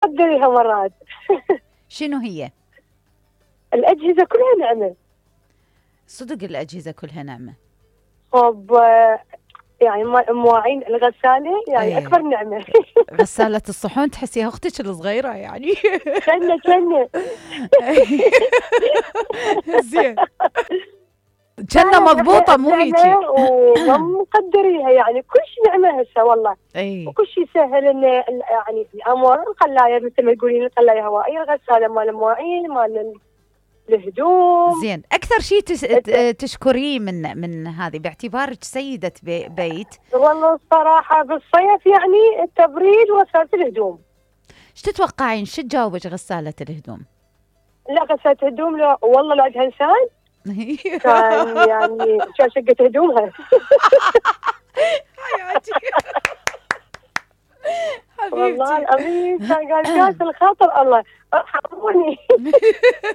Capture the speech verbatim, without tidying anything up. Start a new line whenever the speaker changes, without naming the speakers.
قدريها مرات.
شنو هي؟
الأجهزة كلها نعمة.
صدق الأجهزة كلها نعمة.
طب يعني مواعين الغسالة يعني
أيه.
أكبر نعمة.
غسالة الصحون تحسيها أختك الصغيرة يعني.
كنا كنا
زين. كنا مضبوطة مو هيجي.
وما مقدريها يعني كل شيء نعمة هسه والله.
اي.
وكل شيء سهل إن يعني الأمر القلاية مثل ما تقولين القلاية هوائية، الغسالة مال المواعين مال الهدوم.
زين، أكثر شيء تس... تشكريه من من هذه باعتبارك سيدة بي... بيت؟
والله الصراحة بالصيف يعني التبريد وغسالة الهدوم.
ايش تتوقعين شو تجاوبك غسالة الهدوم؟
لا غسالة الهدوم لا والله لا عندها إنسان. كان يعني كان شقة هدومها.
حياتي.
والله العظيم كان قال كاس الخاطر الله ارحموني.